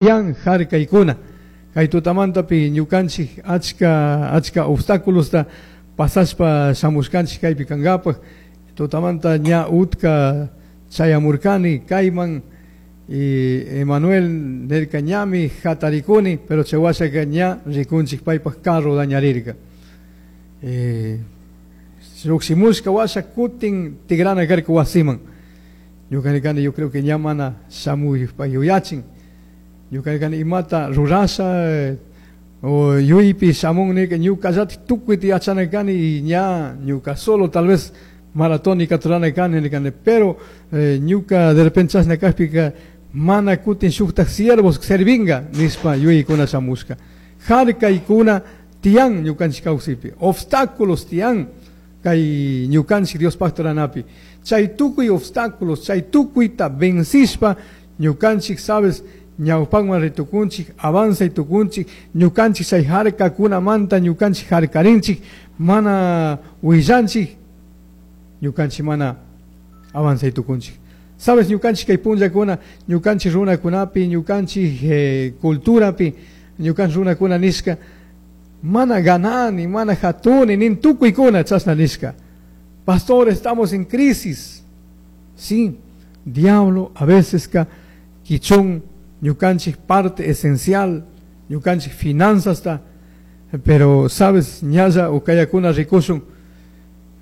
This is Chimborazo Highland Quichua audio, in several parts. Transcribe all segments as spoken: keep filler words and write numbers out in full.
Yan harkaykuna kay tutamantapi ñukanchik achka achka obstáculosta pasashpa shamushkanchik kaypi kankapaq tutamanta ña utka chayamurkani kayman y Emanuel nirka ñami hatarikuni pero chay washaka ña rikunchik paypaq carro dañarirka eh, llukshimushka washa kutin tigrana karka wasiman ñuka nirkani yo creo que ña mana shamuypa yuyachin ñuka nirkani imata rurasha eh, o yuypi shamun nirka ñukallatik tukuyta yachana kani y ña ñuka solo tal vez maratónica rurana kani nirkani pero eh, ñuka de repente chashna kajpika mana kutin shuktak siervos servinga nishpa yuyaykuna shamushka harkaykuna tiyan ñukanchik kawsaypi obstáculos tiyan kay ñukanchik Diospaq ruranapi chay tukuy obstáculos chay tukuyta vencishpa ñukanchik sabes ñawpakman ritukunchik avanzay tukunchik ñukanchik chay harkakunamanta ñukanchik harkarinchik mana willanchik ñukanchik mana avanzay tukunchik sabes ñukanchik kay punllakuna ñukanchik runakunapi ñukanchik eh, culturapi ñukanchik runakuna nishka mana ganani mana hatuni nin tukuykuna chashna nishka pastor estamos en crisis sí diablo a veces ka kichun ñukanchik parte esencial ñukanchik finanzas ta pero sabes ñalla ukayakuna rikushun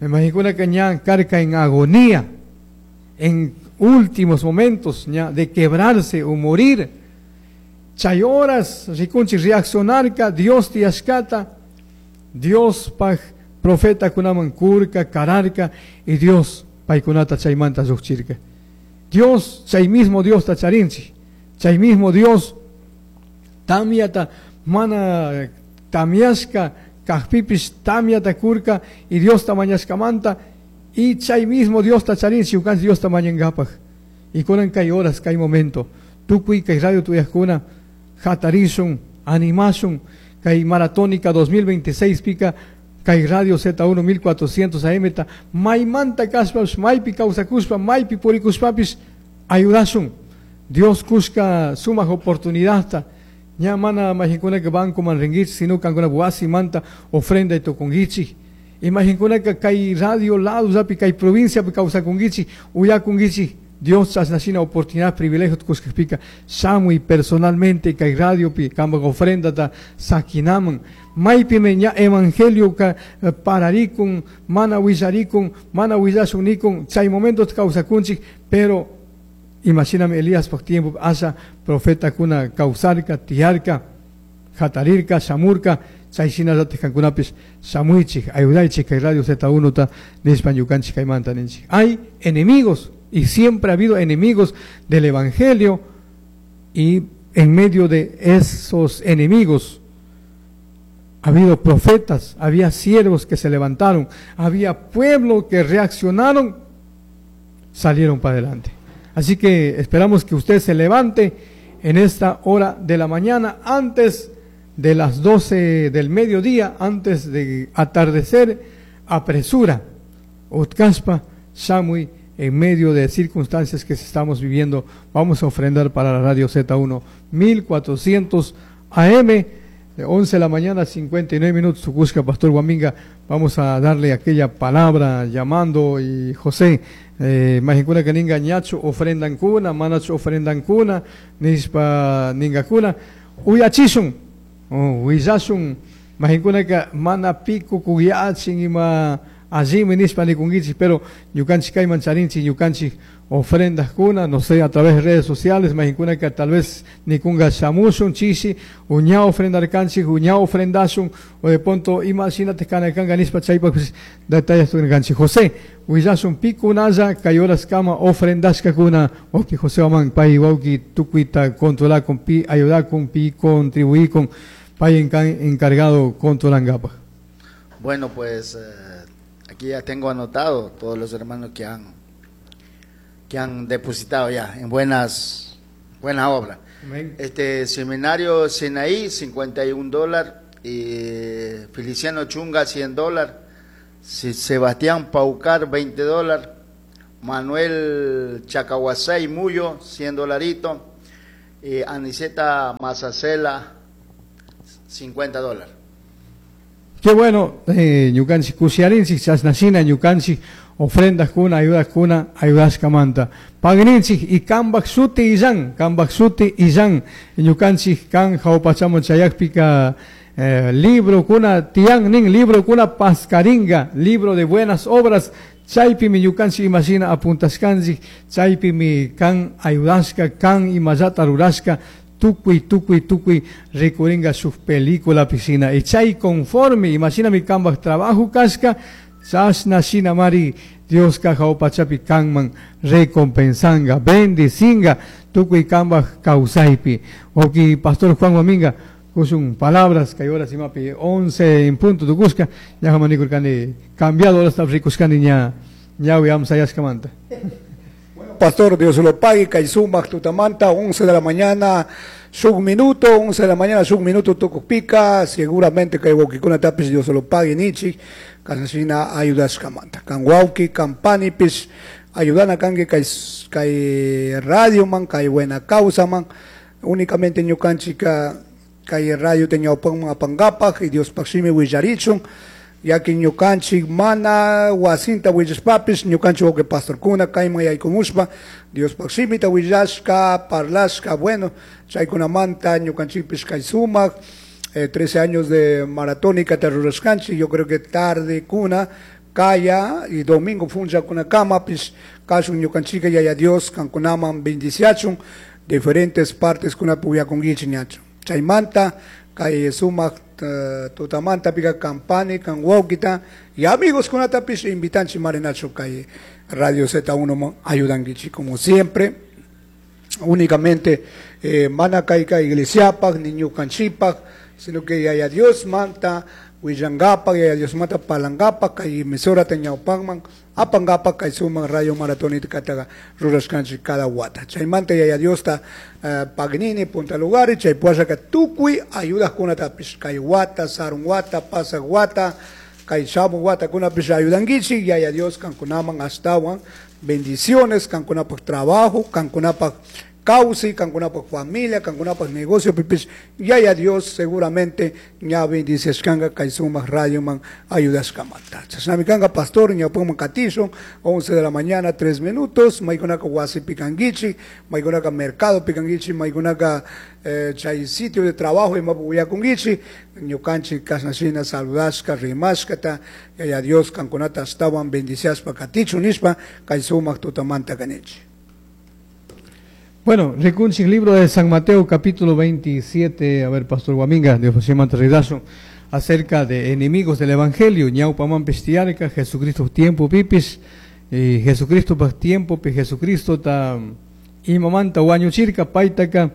imaginkunaka ña karka en agonía en últimos momentos ña de quebrarse o morir chay horas rikunchik reaccionarka Dios tiyashkata Dios paj profeta kunaman kurka kararka y Dios paykunata chaymanta llukchirka Dios chay mismo Dios ta charinchik chay mismo Dios tamyata mana tamyashka kajpipish tamyata kurka y Dios ta mañashkamanta y chay mismo Dios ta charinchik ñukanchik Dios ta mañankapaj y kunan kay horas kay momento tukuy kay radio tuyajkuna hatarishun animashun kay maratónica dos mil veintiséis pika kay radio Z uno mil cuatrocientos A M ta maymanta kashpapish maypi kawsakushpa maypi purikushpapish ayudashun Dios kushka sumaq oportunidadta ña mana majikunaka bancoman rinkichik sino kankuna wasimanta ofrenda tukunkichik imaginkunaka kay radio lado llapi kay provinciapi kawsakunkichik uyakunkichik Dios chashnashina oportunidad privilegio kushkakpika shamuy personalmente kay radiopi kanpak ofrendata sakinaman maypimi ña evangelio ka pararikun mana willarikun mana willashun nikun chay momento kawsakunchik pero imashinami Eliaspak tiempo asha profetakuna kawsarka tiyarka hatarirka shamurka chay shinallatik kankunapish shamuychik ayudaychik kay radio Z uno ta nishpa ñukanchik kaymanta ninchik hay enemigos y siempre ha habido enemigos del evangelio y en medio de esos enemigos ha habido profetas, había siervos que se levantaron, había pueblo que reaccionaron, salieron para adelante. Así que esperamos que usted se levante en esta hora de la mañana, antes de las doce del mediodía, antes de atardecer, apresura, Utkaspa, Shamuy, en medio de circunstancias que estamos viviendo, vamos a ofrendar para la radio Z uno mil cuatrocientos A M, de once de la mañana, cincuenta y nueve minutos, Tucusca, Pastor Guaminga, vamos a darle aquella palabra llamando, y José, eh, majinkuna que ninga ñacho ofrendan kuna, manacho ofrendan kuna, nispa ninga kuna, uyachishun, oh, huillashun, majinkuna que mana pico kuyachin ima allí nispa nikunkichik, pero ñukanchik kayman charinchik, ñukanchik ofrendas kuna, no sé, a través de redes sociales, majinkuna que tal vez nikunga shamushun, chishi, uña ofrendarkanchik, uña ofrendashun, o de pronto imagínate kanakanga nispa chaypa, pues, detalles tunkanchik. José, huillashun pikunalla, kay horas kama ofrendashka kuna, wauki José Aman, pay wauki tukuita controlar con pi, ayudar con pi, contribuir con pay encargado controlangapa. Bueno, pues, eh, aquí ya tengo anotado todos los hermanos que han, que han depositado ya en buenas, buenas obras. Amén. Este seminario Sinaí, cincuenta y un dólares, y Feliciano Chunga, cien dólares, Sebastián Paucar, veinte dólares, Manuel Chacahuasay Muyo, cien dolaritos, Y Aniceta Mazacela, cincuenta dólares. Qué bueno, eh, ñukanchik kushiyarinchik, chashnashina ñukanchik ofrendas kuna, ayudas kuna, ayudashkamanta. Pagninchik y kambak shuti illan, kambak shuti illan, ñukanchik kan jawpachaman chayakpika, eh, libro kuna tiyan nin, libro kuna paskaringa, libro de buenas obras, chaypimi ñukanchik imashina apuntashkanchik, chaypimi kan ayudashka, kan imallata rurashka, tukuy, tukuy, tukuy rikuringa shuk película piscina. Y chay conforme, imagina mi kambak trabajo kashka, chashna shina mari, Dios ka jawpachapi kanman recompensanga, bendicinga, tukuy kambak kawsaypi. Oki, Pastor Juan Guaminga, kushun palabras, kay horas imapi, once en punto tukushka, ña jamanikurkani, cambiado horas rikushkani ña, ñawi amsayashkamanta. Pastor, Dios lo pague, kay sumak tutamanta, once de la mañana, shuk minuto, once de la mañana, shuk minuto tukupika, seguramente kay wawkikuna tapis Dios lo pague nichik, kasnashina ayudashkamanta. Kan wawki, kan panipis, ayudana kanki kay, kay radio man, kay buena causa man, únicamente ñukanchika kay radio teñawpanman apangapak, y Dios pakshimi willarichun, ya que ñukanchik mana wasinta willashpapis, ñukanchik wawqi pastorkuna kayman yaykumushpa, Dios pakshimita willashka, parlashka, bueno, chaykunamanta ñukanchikpis kay sumak, eh, trece años de maratónica te rurashkanchik, yo creo que tarde kuna, kaya y domingo funcha kuna kamapis, kashun ñukanchika yaya Dios kankunaman bendiciachun, diferentes partes kuna puyakunkichik ñachu. Chaymanta, kay sumak, eh, tutamanta pika campani, kan wawkita, y amigos kunatapis invitanchi marinacho kay Radio Z uno mo ayudankichi como siempre. Únicamente, eh, mana kayka iglesiapak, ni ñukanchipak, sino que yaya Dios manta willangapak, yaya Dios manta palangapak, kay emisora teñawpanman, apangapak, kay suman radio maratónica kataga rurashkanchik cada wata. Chaymanta yaya Dios ta, eh, pagnini punta lugar, chay puashaka tukuy ayudas kunatapis, kay wata, sarun wata, pasak wata, kay shamu wata kunapis ayudankichik, yaya Dios kankunaman astawan bendiciones, kankunapak trabajo, kankunapak causa, kankunapak familia, kankunapak negocio, pipis, yaya Dios seguramente ña bendiciashkanga kay sumak radio man ayudashkamanta. Chashnami kanga pastor ñawpanman katishun, once de la mañana, tres minutos, maykunaka wasi pikankichik, maykunaka mercado pikankichik, maykunaka, eh, chay sitio de trabajo imapu willakunkichik, ñukanchik kashnashina saludashka, rimashkata, yaya Dios kankunata astawan bendiciashpa katichun nishpa, kay sumak tutamanta kanichik. Bueno, rikunchik libro de San Mateo capítulo veintisiete, a ver, Pastor Guaminga, Dios José Mantarridazo, acerca de enemigos del Evangelio, ñawpaman pestiarca, Jesucristo tiempo pipis, y Jesucristo pa tiempo pi Jesucristo ta imamanta wañuchirka, paitaka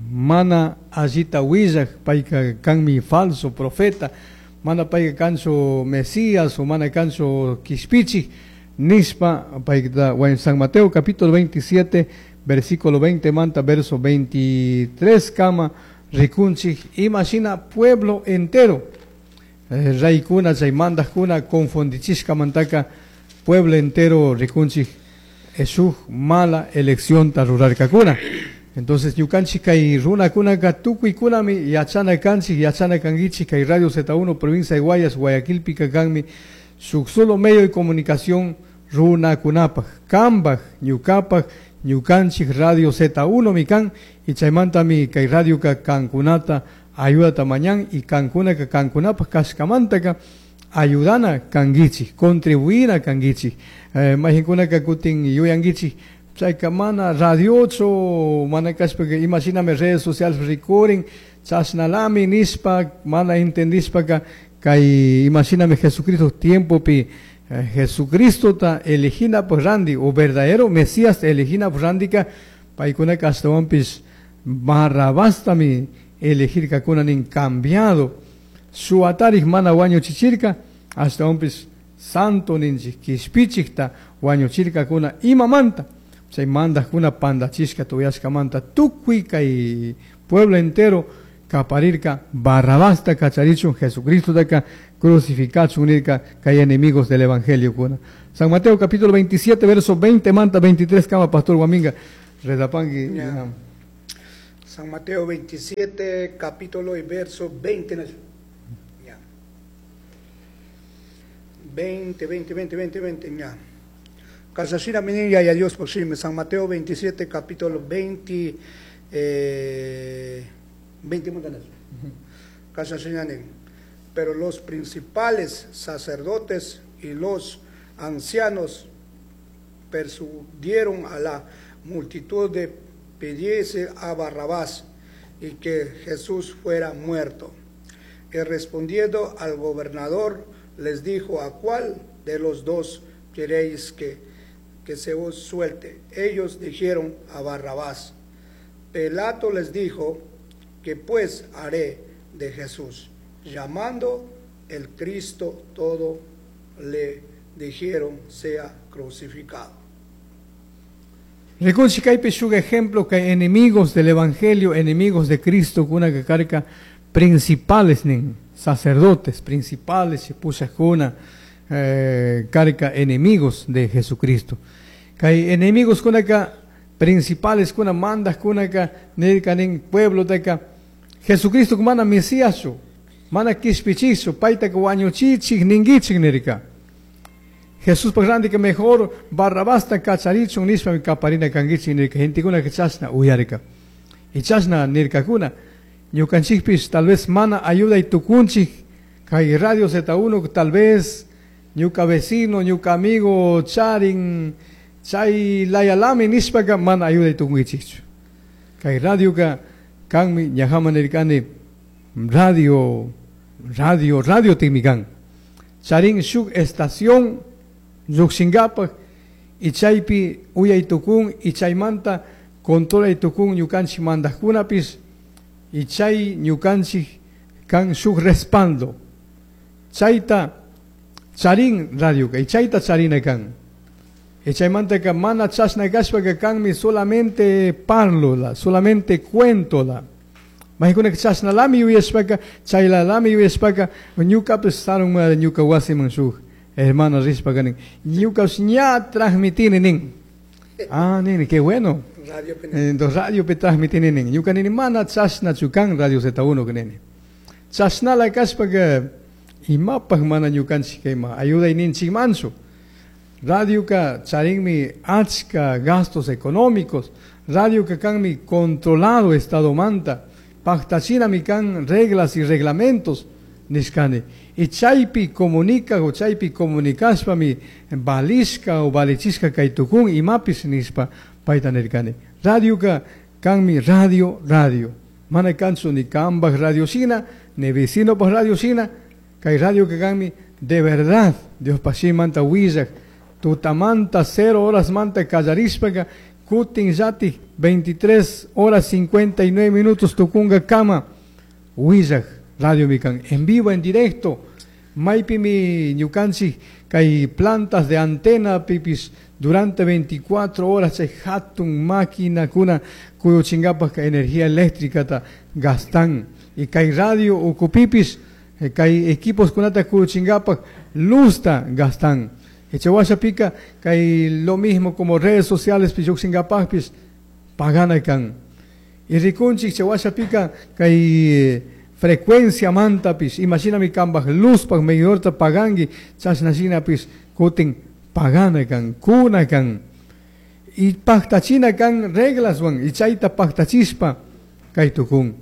mana allita willaj, paika kanmi falso profeta, mana paika kancho Mesías o mana kancho Quishpichi, nispa paika en San Mateo capítulo veintisiete, versículo veinte manta, verso veintitrés, kama, rikunchik, imagina pueblo entero, eh, raykuna, chaymandajkuna, confundichishka mantaka, pueblo entero rikunchik, eshuj mala elección ta rurarkakuna. Entonces, ñukanchik kay runakunaka tukuykunami yachana kanchik, yachana kankichik, kay Radio Z uno, provincia de Guayas, Guayaquil, pica kanmi, shuk solo medio de comunicación runakunapaj, kambaj, ñukapaj, ñukanchik Radio Z uno mikan, y chaymantami kay radio ka kankunata ayudata mañan, y kankunaka kankunapaj kashkamantaka ayudana kankichik, contribuina kankichik. Eh, mayqinkunaka kutin yuyankichik, chayka mana radio ocho, mana kashpaka, imagíname redes sociales rikurin, chashnalami nishpa, mana entendishpaka, kay imagíname Jesucristo tiempopi, eh, Jesucristo ta elegina por randi, o verdadero Mesías elegina por randika, paykunaka ashtawanpis Barrabastami elegir kakuna nin cambiado, suatarij mana wañuchichirka, ashtawanpis santo ninchik kishpichikta wañuchirkakuna imamanta, chay mandajkuna pandachishka tuyashkamanta, tukuy kay pueblo entero kaparirka Barrabasta kacharichun Jesucristo taka crucificachun nirka kay enemigos del evangelio kuna. San Mateo capítulo veintisiete verso veinte manta veintitrés kama Pastor Guaminga redapangi. Ya. Ya. San Mateo veintisiete, capítulo y verso veinte. Ya. veinte, veinte, veinte, veinte, veinte, ya. Casasina minilla y a Dios por sí. San Mateo veintisiete, capítulo veinte, eh, veinte montañas. Casasina Pero los principales sacerdotes y los ancianos persuadieron a la multitud de pidiese a Barrabás y que Jesús fuera muerto. Y respondiendo al gobernador les dijo: ¿A cuál de los dos queréis que, que se os suelte? Ellos dijeron: a Barrabás. Pilato les dijo: ¿Qué pues haré de Jesús? Llamando el Cristo, todo le dijeron: sea crucificado. Rikunchik kaypi shuk ejemplo que enemigos del evangelio, enemigos de Cristo, kuna karka principales nin, sacerdotes principales, pushajkuna eh, karka enemigos de Jesucristo. Kay enemigos kunaka principales kuna mandajkunaka nirka nin pueblo taka Jesucristo mana Mesíaschu, mana kishpichikchu, paytaka wañuchichik ninkichik nirka. Jesús que mejor Barrabasta kacharichun nishpa kaparina kankichik nirka, gentekuna chashna uyarka. Y chashna nirkakuna ñukanchikpish tal vez mana ayuday tukunchik kay Radio Z uno tal vez ñuka vecino, ñuka amigo charin chay layalami nishpaka mana ayuday tukunkichikchu. Kay radioka kanmi ñajaman nirkani radio, radio, radio tikmi kan. Charin shuk estación lluqshinkapak y chaypi uyay tukun y chaymanta controlay tukun ñukanchik mandajkunapis y chay ñukanchik kan shuk respaldo. Chayta charin radioka y chayta charina kan. Y chaymantaka mana chashna kashpaka kanmi solamente parlola, solamente cuentola. Maykunaka chashnalami yuyashpaka, chaylalami yuyashpaka, ñukapis sarun ñuka wasiman shuk hermano rishpaka nin, ñukapish ña transmitini nin. Ah, nini, qué bueno. Radio Entonces radio pe transmitini nin. Ñuka nini mana chashnachu kan Radio Z uno nini. Chashnala kashpaka imapaj mana ñukanchik kayma ayuday ninchikmanchu. Radioka charinmi achka gastos económicos. Radioka kanmi controlado estado manta. Pactachinami kan reglas y reglamentos nishkani. Y chaypi comunica o chaypi comunicashpami valishka o valichishka kay tukun imapis nishpa payta nirkani. Radioka kanmi radio, radio. Mana kanchu ni kanpaj radio shina, ni vecinopaj radio shina. Kay radioka kanmi de verdad Dios pashimanta willak tutamanta cero horas manta kallarishpaka kutin llatik veintitrés horas cincuenta y nueve minutos tukunga kama willak radio mikan en vivo, en directo. Maypimi ñukanchik kay plantas de antena pipis durante veinticuatro horas chay hatun máquina kuna kuyuchinkapaj energía eléctrica ta gastan. Y kay radio ukupipis kay equipos kunata kuyuchinkapaj luzta gastan. Echawashapika kay lo mismo como redes sociales piyuxinkapajpis pagana kan. Y rikunchik chawashapika kay frecuencia mantapis, imaginami kambaj luzpaj medidorta pagangi, chashnashinapis kutin pagana kan, kuna kan. Y pactachina kan reglaswan, y chayta pactachispa kay tukun.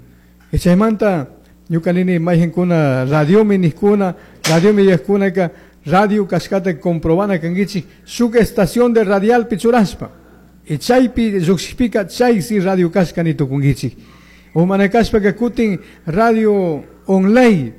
Y chaymanta ñuka nini mayqinkuna radiomi niqkuna, radiomi yaqkunaka radio kashkata comprobana kankichik shuk estación de radial pichurashpa. Y chaypi lluqshikpika chaysi radio kashka ni tukunkichik. O mana kashpaka kutin radio online.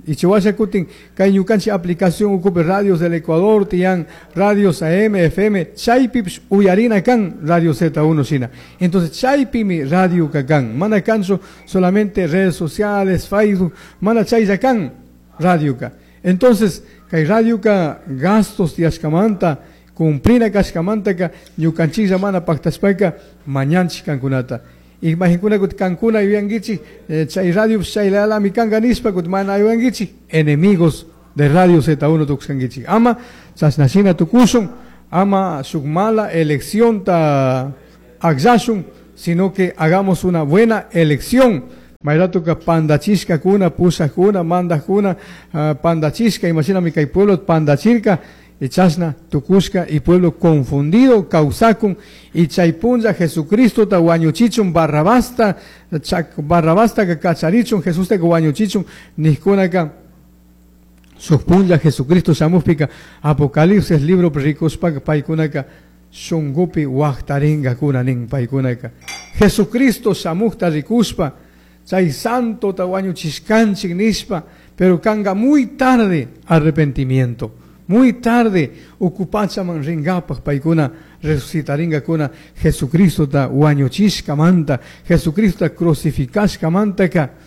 Y chihuahua kutin kay ñukanchik aplicación ukupi radios del Ecuador tiyan radios A M, F M, chaypipish uyarina kan Radio Z uno shina. Entonces chaypimi radio kan, mana kanchu solamente redes sociales, Facebook, mana chaylla kan radio ka. Entonces kay radio ka gastos tiyashkamanta cumplina kashkamantaka ñukanchiklla mana paktashpaka mañanchik kankunata. Y imaginkuna kut kankuna yuyankichik chay radio chaylalami kanka nishpa kut mana yuyankichik enemigos de Radio Z uno tukuskankichik. Ama chashnashina tukushun, ama shuk mala elección ta akllashun, sino que hagamos una buena elección. Mayratuka pandachishkakuna, pushakuna, mandakuna, uh, pandachishka, imashinami kay pueblo pandachirka, y chashna tukushka y pueblo confundido kawsakun y chay punlla Jesucristo ta wañuchichun Barrabasta chak Barrabasta ka kacharichun Jesusta ka wañuchichun nijkunaka shuk punlla Jesucristo shamukpika Apocalipsis libro rikushpaka paykunaka shunkupi waqtarinkakuna nin paykunaka Jesucristo shamukta rikushpa chay santo ta wañuchishkanchik nishpa, pero kanga muy tarde arrepentimiento, muy tarde uku pachaman rinkapak paykuna resucitarinkakuna Jesucristo ta wañuchishkamanta, Jesucristo ta crucificashkamantaka.